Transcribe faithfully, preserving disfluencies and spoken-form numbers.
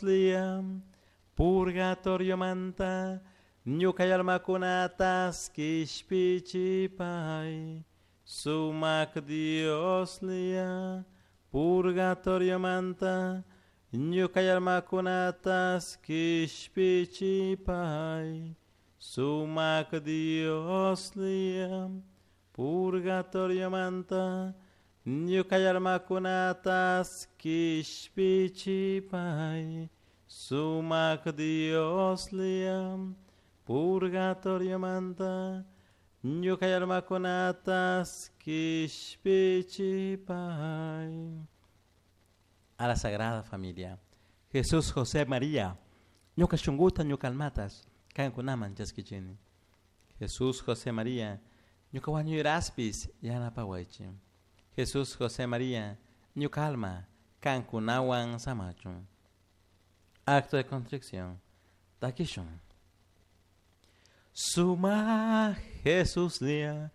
Dioslla, purgatoriomanta ñuka almakunatas kishpichipay. Sumak Dioslla, purgatoriomanta ñuka almakunatas kishpichipay. Sumak Dioslla, purgatoriomanta ñuka almakunatas kishpichipay. Sumak Dioslla, purgatoriomanta ñuka almakunatas kishpichipay. A la Sagrada Familia. Jesús, José, María, ñuka shunguta, ñuka almatas, kankunaman chaskichini. Jesús, José, María, ñuka wañuyraspis yanapawaychi. Jesús, José, María, ñuka alma, kankunawan samachun. Acto de contrición. Takishun. Suma Jesús lia,